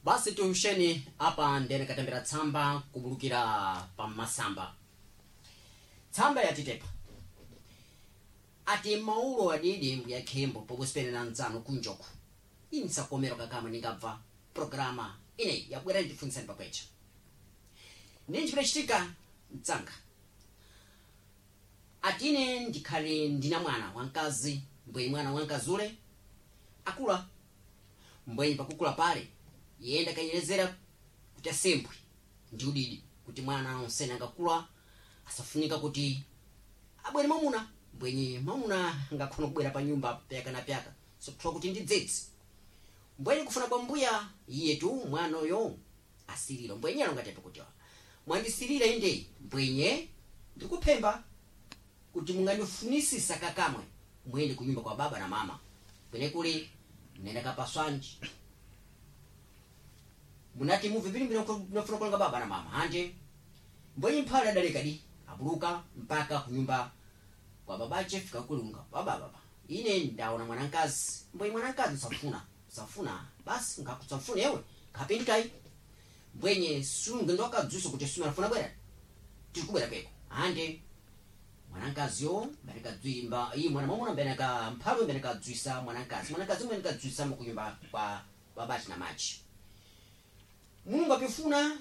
Basi tusheni apa ndene katembera tsamba kubulukira pa masamba. Tsamba yatitepa ati maulo adidi mbuya khembo pokusipelera nzano kunjoku insakomero kakama ningabva programa ineyi yabwera ndifunitsani pakwecha ninji pidachitika mtsanga atine ndikhale ndina mwana wamkazi, mbwenyi mwana wamkazi ule akula, mbwenyi pakukula pale yenda kanyerezera kuti asembwe ndi udidi kuti mwana onsene angakula asafunika kuti abwere mwamuna, mbwenyi mwamuna angakhona kubwera pa nyumba pyaka na pyaka sokuthiwa kuti ndi dzedzi. Mbwenyi kufuna kwa mbuya iyetu mwana uyo asirira, mbwenye alongatepe kuti mwandisirira inde mbwenye ndikuphemba kuti mungandifunisisa kakamwe muyende kunyumba kwa baba na mama kwene kuli mnenda kapaswanji munati muve vilimbira nafuna kulonga baba na mama anje. Mbwenye mphale adaleka di abuluka mpaka kunyumba kwa babache fika kulunga baba baba ine ndaona mwanankazi, mbwenye mwanankazi usafuna usafuna basi ngakusafuna ewe kapindikai mbwenye sunge ndokadzuso kuti suma afuna bwera tikubwera kweko ande mwanankaziyo mbenekadzwimba iyi mwana mwamuna mbeneka mphalwe mbenekadzwisa mwanankazi, mwanankazi mbenekadzwisa mukunyumba kwa babachi na machi. Mulungu apifuna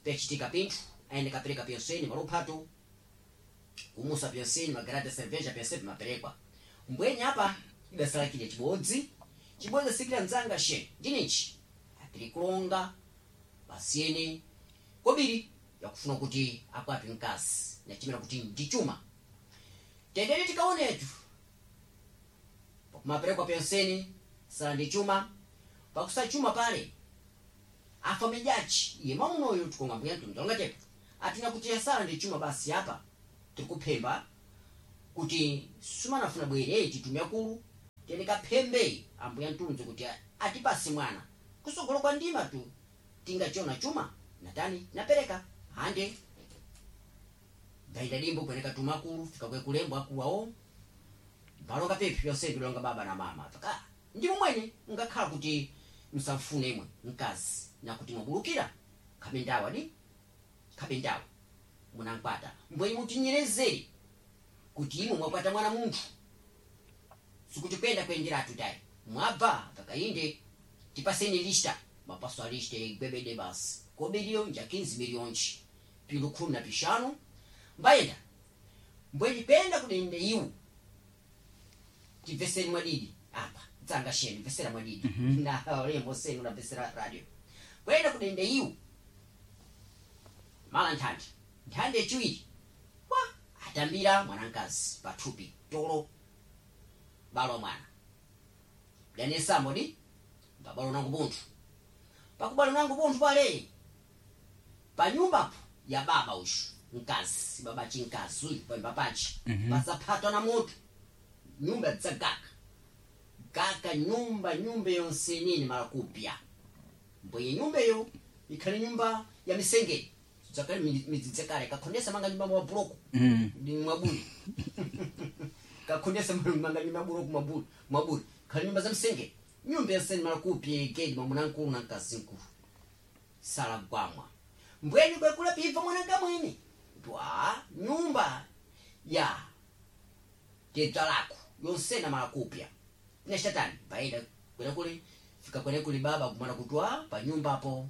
pechitika pinthu aende kapereka pyonseni maluphato kumusa pyonseni magarada ya cerveja pyonse pimaperekwa. Mbwenye apa idasalakile chibodzi chibodzi asikira mdzanga she ndinichi apiri kulonga pasiyene kobiri yakufuna kuti akwati mkazi nachimira kuti ndi chuma. Tendere tikaonetu pakumaperekwa pyonseni sala ndi chuma pakusachuma pale afa mijachi iye mwamunoyo tikonga mbuya mtundu alongatepo atina kuti yasala ndi chuma basi apa tikuphemba kuti sumanafuna bwere titumya kulu tene kaphembe ambuya mtunzi kuti atipase mwana kusogolo kwa ndima tu tingachiona chuma natani napereka hande ndaida dimbo kweneka tumakulu fika kwe kulembo akuwawo mbalonga pepi pyonse bilonga baba na mama paka ndi mwene ngakhala kuti msafune imwe mkazi nakuti mwabulukira khabe ndawa di khabe ndawa munankwata mbwenye mutinyerezere kuti imwe mwakwata mwana munthu sikuti kwenda kwenderatu tayi mwabva pakainde tipaseni lista mapaso a lista igwebede basi kobiriyo nja 15 miliyonji pilu 15 mbayenda mbwenye kwenda kudende iwu tibveseni mwadidi apa dzanga sheni bvesera mwadidi na lembo seni unabvesera radio kwenda kudende iwu mala nthandi nthandi yachiwiri wa atambira mwanankazi pathupi tolo balo mwana danesambo di pabalo nangu bunthu pakubalo nangu bunthu pale panyumbapo ya baba ushu mkazi baba chinkazi uyu panyumba pachi pasaphatwa na mutu nyumba dzagaka gaka nyumba nyumba yonse nini mala kupya mbwenye nyumba iyo ikhale nyumba ya misengeni dzakale midzi dzakale kakhondesa manga nyumba mwa buloko ndi mwabuli kakhondesa manga nyumba buloko mwabuli mwabuli khale nyumba za msengeni nyumba yonseni mala kupya igedi mwamuna nkulu na mkazi nkulu sala gwamwa mbweni kwekula piva mwananga mwene twa nyumba ya tedza lako yonsena mala kupya tinachatani paida kwenekuli fika kwenekuli baba kumana kutwa pa nyumbapo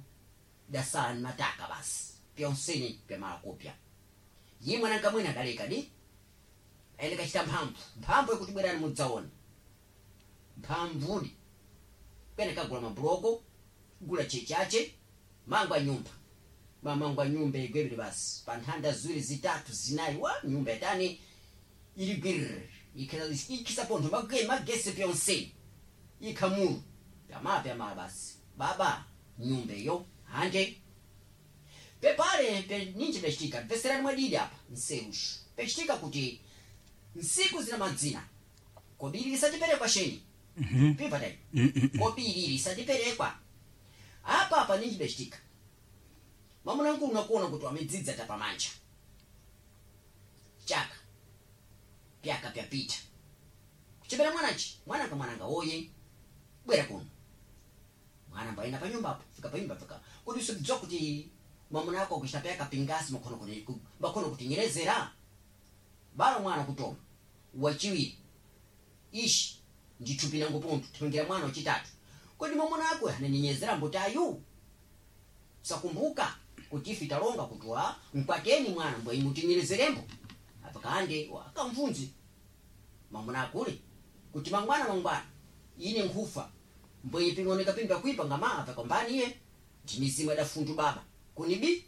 dasala ni mataka basi pyonseni pya mala kupya yi mwananga mwene adaleka di aende kachita mphamvu mphamvu yakuti bwerani mudzaona mphamvudi kwene kagula mabuloko gula chechache mangwa nyumba mamangwa nyumba igwebere basi pa nthanda ziwiri zitatu zinayi wa nyumba yatani ili gwiriri ikisa pontho magesi pyonseni ikhamulu pyamala pyamala basi baba nyumba iyo hanje pepale pe ninji pechitika mveserani mwadidi apa nserushu pechitika kuti nsiku zina madzina kobiri lisatiperekwa sheni pipa tayi kobiri lisatiperekwa apa apa ninji pechitika mwamuna nkulu nakuona kuti wamidzidza tapamanja chaka pyaka pyapita kuchepera mwanachi mwananga mwananga oye bwera kuno mwana Mwana mbaina pa nyumbapo fika pa nyumba fika kuti usidziwa kuti mwamuna ako kuchita paya kapingasi makhono kuti makhono kutinyerezera balo mwana kutoma wachiwiri ishi ndithupi langu puntu tipangira mwana wachitatu kodi mwamuna ako ananyenyezera mbotayu sakumbuka kuti ife talonga kuti wa mkwateni mwana mbwe imutinyerezerembo apa kande akamvunzi mwamuna akule kuti mangwana mangwana ine nkhufa mbwe ping'oneka pimba kuipa ngama apa kombani iye ndimizimu adafundu baba kunibi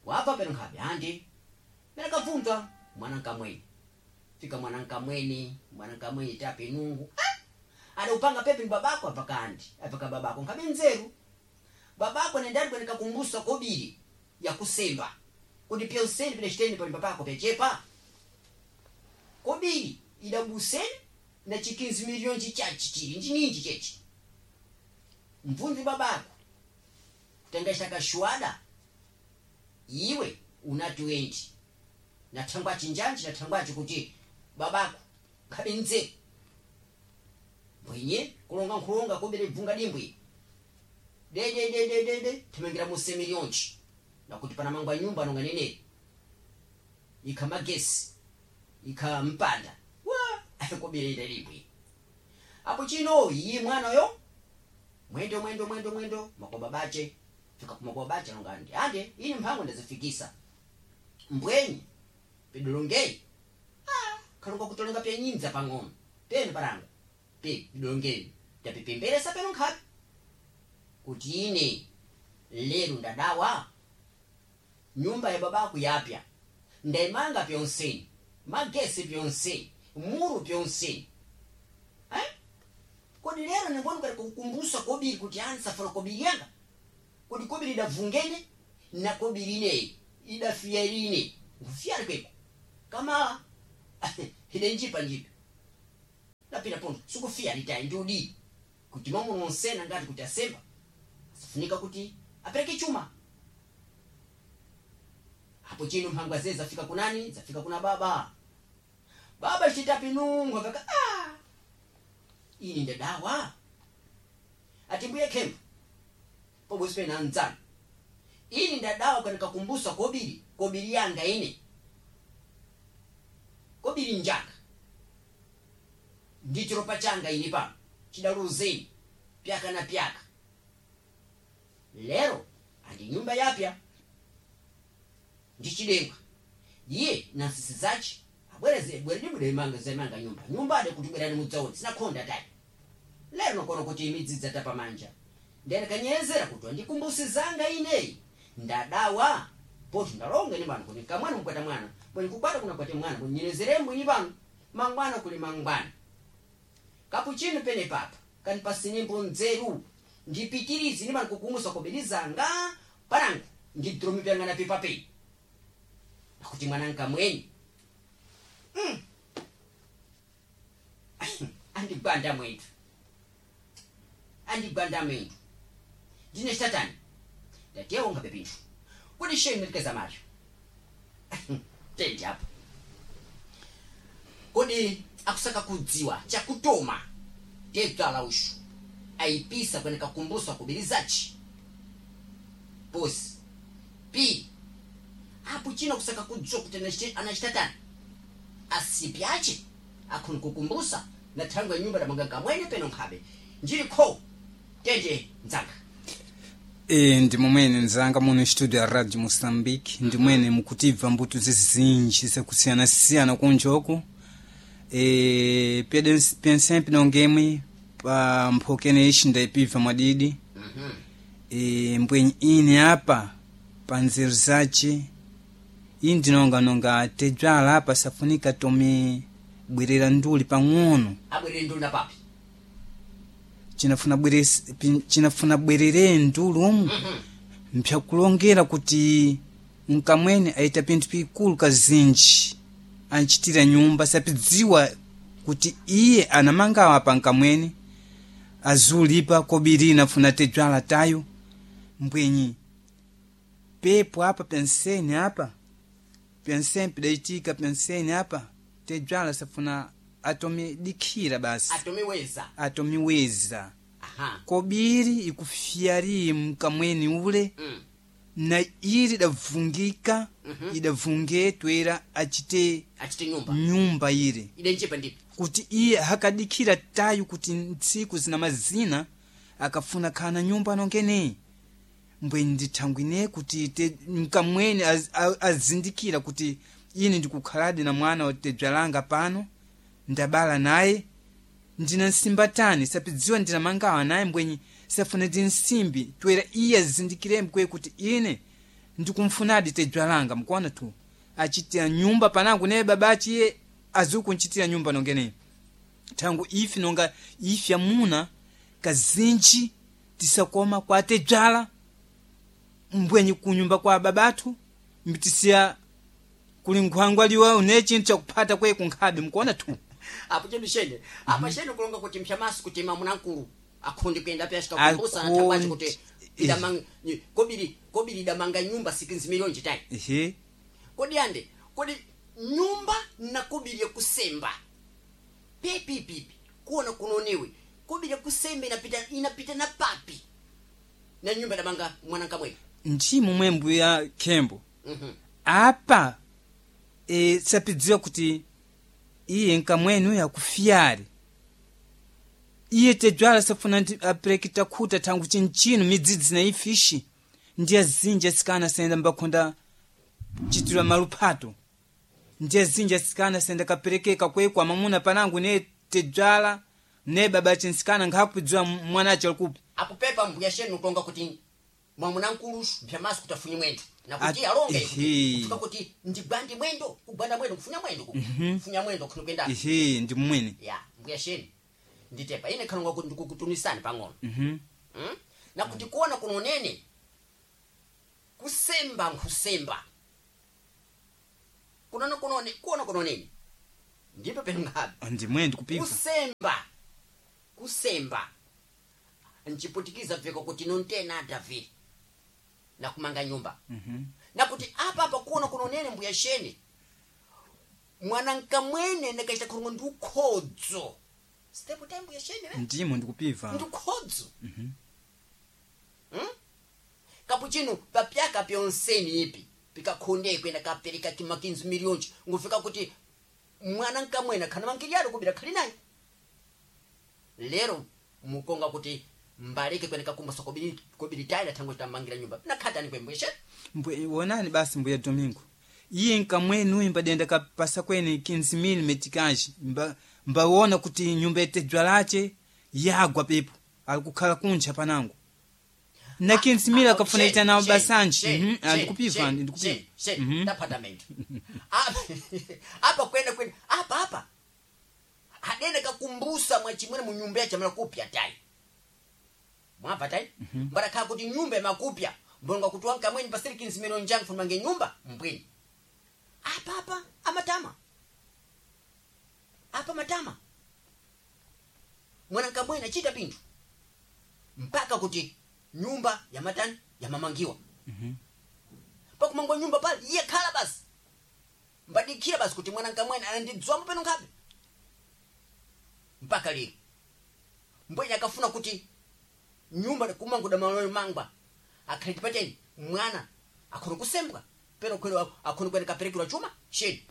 wapa peno nkhabe andi mera kavunzwa mwana nkamweni fika mwana nkamweni mwana nkamweni tapi nungu ah! adaupanga pepe ni babako apa kandi apa babako nkhabe nzeru babako nendali kweneka kumbusa kobiri yakusemba kuti pya useni pene chiteni pali papako pyachepa kobiri idabuseni na chikinzi miliyoni chichachi chili njininji chechi mvunzi babako kutenga kashuada iwe una 20 na thangwa chinjanji na thangwachi kuti babako khabe nzeru mbwenye kulonga nkhulonga kobere bvunga dimbwi dededededede timangira muse miliyonji nakuti pana mangwa nyumba nonga neneri ikha magesi ikha mpanda wa kobere ida dimbwi apo chino iye mwana yo mwendo mwendo mwendo mwendo makoba bache fika kumakoba bache nonga andi ande ini mphango ndazifikisa mbwenye pidolongei ah kalonga kutolenga pya nyinza pang'ono penu paranga pe pidolongei tapipemberesa peno nkhapi kuti ine lero ndadawa nyumba ya babaku yapya ndaimanga pyonseni magesi pyonseni muru pyonseni eh? kodi lero ningoni kati kukumbusa kobiri kuti ansafuna kobiri yanga kodi kobiri idavungene na kobiri ineyi idafiya ine nkufiyali kweko kama ide njipa njipa napita pono sikufiya litayi ndiudi kuti mamuno onsena ngati kuti asemba asafunika kuti apereke chuma apo chino mphangwa zee zafika kunani zafika kuna baba baba chitapi nungu akaka ah ini ndadawa ati mbuye khemba pobwezi pena anzanu ini ndadawa kanikakumbusa kobiri kobiri yanga ine kobiri njanga ndi chiropa changa ini pano chidaluzeni pyaka na pyaka lero andi nyumba yapya ndichidengwa iye na nsisi zace abwereze bweredi imanga zaimanga nyumba nyumba ade kuti bwerani mudzaone sinakhonda tayi lero nokono kuti imidzidza tapamanja ndiyani kuti andikumbusizanga ineyi ndadawa poti ndalonga ini pano kuti kamwana mukwata mwana bweni kukwata kunakwate mwana bweni nyerezerembo ini pano mangwana kuli mangwana kapuchino pene papa kanipasinimbo nzeru ndipitirize ini pano kukumusa kobelizanga panangu ndidromi pyanga na pipa pei nakuti mwana nkamweni andigwanda mwendu andigwanda mwendu ndine chitatani ndatewo ngabe pinthu kuti sheni nditikeza macho tendi apo kodi akusaka kudziwa chakutoma tebzala ushu ayipisa kweneka kumbusa kubirizachi posi pili apo chino kusaka kudziwa kuti anachitatani asipi ache akhoni kukumbusa na thangwe nyumba damanga kamwene peno nkhabe njili kho tende mdzanga E, ndi momwene nzanga muno studio ya radio moçambique ndimwene mukutibva mbuto zizinji zakusiyanasiyana kunjoku e, pensempe nongemwe pa mphokene ixi ndaipibva mwadidi e, mbwenyi ine apa pa nzeru zace iyi ndinonganonga tebzala apa safunika tome bwerera nduli pang'ono abwerere nduli na papi chinafuna bwere chinafuna bwerere ndulu umu mpyakulongera kuti mkamwene aita pinthu pikulu kazinji anchitira nyumba sapidziwa kuti iye anamangawa pa nkamwene azulipa kobiri funa tebzala tayo mbwenyi pepo apa penseni apa penseni pidayitika penseni apa tebzala safuna atomidikhira basi atomiweza atomiweza Aha. Kobiri ikufyari mkamweni ule. Na ili idavungika. Idavunge twera achite Achite nyumba. Nyumba ile. Idenchepa ndipo. Kuti iye hakadikira tayu kuti ntsiku zina mazina akafuna khana nyumba nongene mbwe ndithangwine kuti mkamweni azindikira kuti ine ndikukhaladi na mwana watebzalanga pano ndabala naye ndina nsimbatani sapidziwa ndina mangawa naye mbwenyi safuna ndi nsimbi twera iye azindikire mkwe kuti ine ndikumfunadi tebzalanga mkuona tu achitira nyumba panangu naye babachi iye azikunchitira nyumba nongeneyo thangu ife nonga ife amuna kazinji tisakoma kwatedzala mbwenyi kunyumba kwa babathu mbitisiya kuli nkhwangwa liwa une chinthu chakuphata kwe kunkhabe mkuona tu. Apo chedu shene apa shene kulonga kuti mphamasu kuti mamuna mkulu akhondi kuyenda pyashika kumbusa nathangwaci kuti kobiri kobiri idamanga nyumba 6 miliyoni chitayi. Ehe. Kodi ande kodi nyumba na kobiri yakusemba pepipipi kuona kunoniwe kobiri yakusemba inapita inapita na papi na nyumba idamanga mwana nkamwene. Nchimo mwe mbuya khembo. Apa sapidziwa kuti iye nkamwene uyo akufyari iye tedzwala safuna aperekita khuta thangu chinchino midzidzi na ifishi ndiye zinji asikana asayenda mbakhonda chitirwa maluphato ndiye zinji asikana asayenda kaperekeka kwekwa mamuna panangu ne tedzwala ne baba chinsikana nkhakupidziwa mwanache alikupi. Apo pepa mbuya shenu kulonga kuti mwamuna mkulusu mphamasu kuti afunye mwendo nakuti alonge kutuka kuti ndigwande mwendo kugwanda mwendo kufunya mwendo kufunya mwendo kuno kuyenda. Ehe, ndi mmwene. Ya mbuya shenu nditepa ine khalonga kuti ndikukutunisani pang'ono. Nakuti kuona kunonene kusemba nkusemba kunona kunone kuona kunonene ndipo pengabe. Ndi mwene ndikupibva. Kusemba kusemba nchiputikiza veko kuti nontena David nakumanga nyumba. Nakuti apa apa kuona kunonene mbuya shene mwana nkamwene ndakaita khulungu ndi ukhodzo step time mbuya shene ve Ndimo ndikupibva. Ndi ukhodzo. Kapuchino papyaka pyonseni ipi pikakhonde kwenda kapereka kimakinzi miliyonji ngufika kuti mwana nkamwene khana mankilialo kubira khali naye lero mukonga kuti mbaleke kwenda kakumbusa kobiri kobiri tayi thango tamangira nyumba nakhatani kwembweshe. Mbwe wonani basi mbuya Domingo iye nkamwene uyu mbadenda kapasa kwene 15,000 meticage mbaona kuti nyumba yetedzwa lache yagwa pepo alikukhala kuntcha panango na 15,000 akafuna ita nawo basanji. Ndikupibva ndikupibva. Tapatamento apa kwenda kwenda apa apa adene kakumbusa mwachimwene mu nyumba yache makupya tayi mwapa tayi mbarakhala kuti nyumba imakupya mbonga kuti wankamweni pasiri 15 miliyoni jangu fumange nyumba mbwini apa apa amatama apa matama mwana nkamwene achita pinthu mpaka kuti nyumba yamatani yamamangiwa. Pakumangwa nyumba pale iye khala basi mbadikira basi kuti mwana nkamwene anandidzwamo peno nkhabe mpaka lero mbwenye akafuna kuti nyumba kumanguda maloyo mangwa akhali tipateni mwana akhona kusembwa peno kwelo akhona kwene kaperekerwa chuma sheni.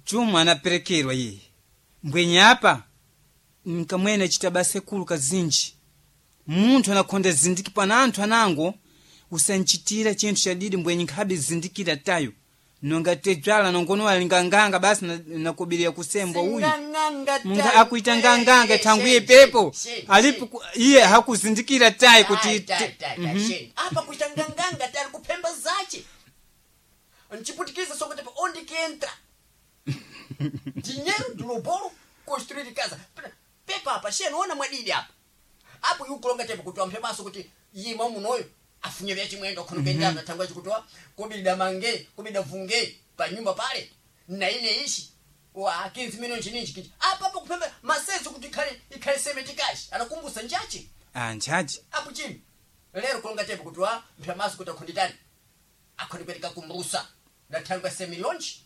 Chuma anaperekerwa iye mbwenye apa nkamwene achita basa ikulu kazinji munthu anakhonda zindiki pana anthu anango usanchitira chinthu chadidi mbwenye nkhabe zindikira tayo nonga tedzwala nongono alinganganga basi nakubirira kusembwa uyu. Munthu akuita nganganga thangu iye pepo alipo iye hakuzindikira tayi kuti apa kuita nganganga tali kuphemba zace nchiputikiza sokuti onde que entra dinheiro do lobolo construir casa pepa apa sheno ona mwadidi apa apo yukulonga tepo kuti wamphe kuti iye mwamunoyo afunye vya chimwendo khono kendana thangwa chikutoa kubida mange kubida vunge pa nyumba pale na ine ishi wa 15 milioni chininji kichi apa apo kuphemba masezo kuti ikhale ikhale semeti kashi anakumbusa njachi. Ah, nchachi. Apo chini lero kulonga tepo kuti wa mphe kuti akhonditani akhondipereka kumbusa nathangwa semilionji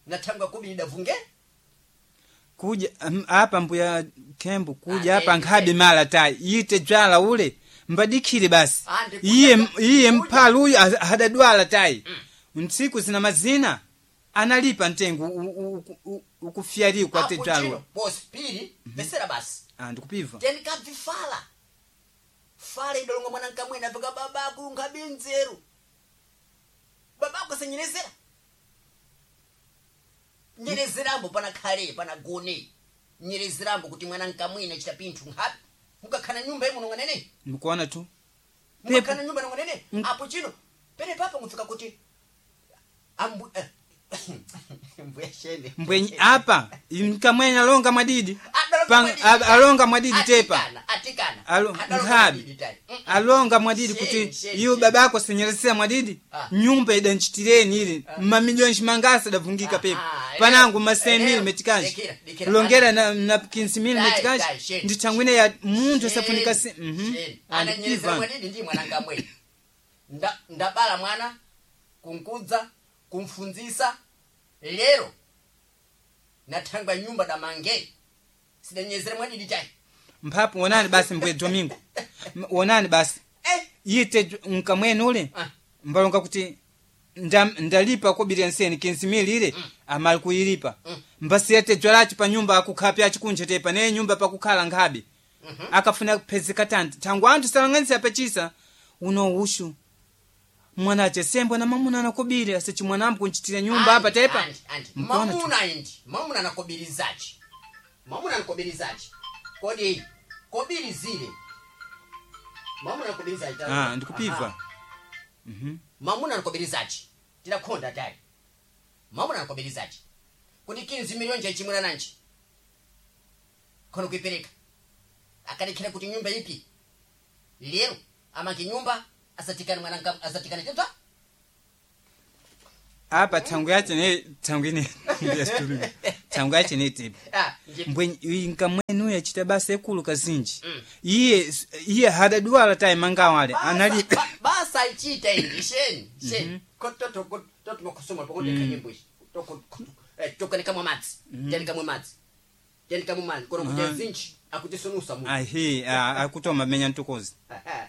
nathangwa kubida vunge. Kuja apa mbuya Kembo kuja Ah, apa eh, nkhabe eh. mala tayi ite dzwala ule mbadikhire basi. Ah, ndikuja- Iye iye kuja. mphala uyu hadadwala tayi. Ntsiku zina mazina analipa mtengo ukufyarikwa Apo tedzwalwa. chino, bosi pili vesera basi. Ah, ndikupiva. Tenikabvifala fala idolonga mwana nkamwene apika babaku nkhabe nzeru. Babako asanyerezera nyerezerambo panakhale panagone nyerezerambo kuti mwana nkamwene achita pinthu nkhabe mukakhala nyumba imuno ng'anene. Mkuona tu. Mukakhala nyumba nong'anene. Mm. Apo chino pene papa mufika kuti ambu mbuya shene. Mbwenyi apa nkamwene alonga mwadidi. Adalonga mwadidi. Alonga mwadidi tepa. Atikana, atikana. Adalonga Nkhabe. mwadidi tayi. Alonga mwadidi Sheni, kuti sheni, iwe sheni. babako senyeretsera mwadidi. Ah. Nyumba idanchitireni ili mamiliyoni chimangasa adavungika pepa. Ah, Panangu lero, ma 100 lero, metikanji. lekera, lekera. Longera na 15 Dai, dai, metikanji. sheni. Ndi thangwine ya munthu asafunika Sheni, si. Mhm. sheni. Ah, Ananyerezera ndikupiva. mwadidi ndi mwana nkamwene. Ndabala mwana kunkudza kumfunzisa lero nathangwa nyumba damange sidanyezera mwadidi tayi. Mphapo wonani basi mbuye Domingo. Wonani basi. Eh. Ite nkamwene ule. Ah. Mbalonga kuti ndalipa kobiri nseni 15 ile amali kuyilipa. Mbasiyete dzwalachi pa nyumba akukhapi achikunje tepa ne nyumba pakukhala nkhabe. Akafuna kuphezeka tanti thangu anthu salang'anisa pachisa uno ushu mwana ache sembo na mamuna anakobiri asechi mwanambu kunchitira nyumba apa tepa. Andi, andi. Mkuona tu. Mamuna indi mamuna anakobirizachi mamuna anakobirizachi kodi kobirizire mamuna anakobirizachi. Ah, ndikupiva. Aha. Mamuna anakobirizachi tidakhonda tayi mamuna anakobirizachi kuti 15 miliyoni chaichimwira nanji khono kuipereka akalekhera kuti nyumba ipi lero amange nyumba asatikane mwana asatikane tebza. Apa thangu yache ne thangu ine ndiyasitumira. Thangu yache ne tepa. Ah, Mbwenyi nkamwene uyu achita basa ikulu kazinji. Iye iye hadadwala tayi mangawale anali basa ichita indi sheni sheni toto makusoma pakonde kanyimbo ichi toko madzi tenikamwe madzi tenikamwe madzi kono kuti zinji akuti sonusa mu. Ahi akutoma menya ntukozi. Aha.